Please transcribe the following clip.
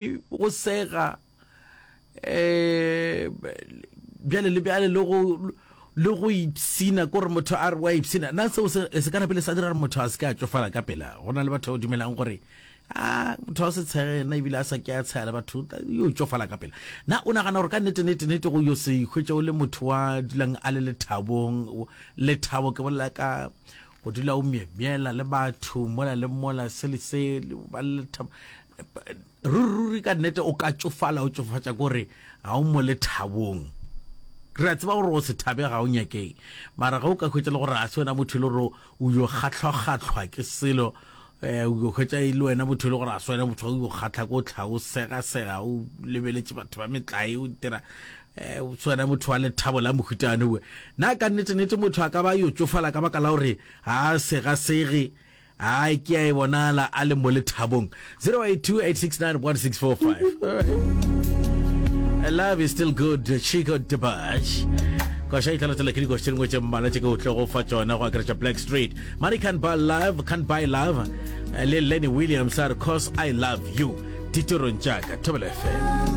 Go sega um bjale le bjale le go le go ipshina kore motho a re wa ipshina na seo se se ka napele sa dira gore motho a se ke a tšofala ka pela go na le batho ba dumelang gore a motho a se tshege yena ebile a sa ke a tshega le batho yo tšofala ka pela na o nagana gore ka nnete nnete nnete go yo se ikhwetša o le motho wa dulang a le lethabong lethabo ke bolela ka go dula o myemyela le batho mola le mola se le se ba le lethabo Ruri-ruri ka nnete o ka tšofala o tšofatša kore ga o mo lethabong. Re a tseba gore go se thabe ga o nyakeng, mara ge o ka hwetša le gore ga se wena motho e le gore o yo kgahlwa-kgahlwa ke selo, um o yo hwetša e le wena motho e le gore ga se wena motho o yo kgahlwa ke o tlha o sega-sega o lebeletše batho ba metlae o dira um se wena motho wa lethabo la mohutane owe. Na ka nnete-nnete motho a ka ba yo tšofala ka baka la gore ga a sega-sege? Ai ke a e bonala a le mo lethabong. 0828691645. All right. Love is still good. Chico Debaj. Koša e tla latela ke dikoša tše dingwe tše mmalwa tše ke o tlogo fa tšona go akaretša Black Street. Money can't buy love, can't buy love. Le Lenny Williams a re cause I love you. Ditorong tša ka Thobela FM.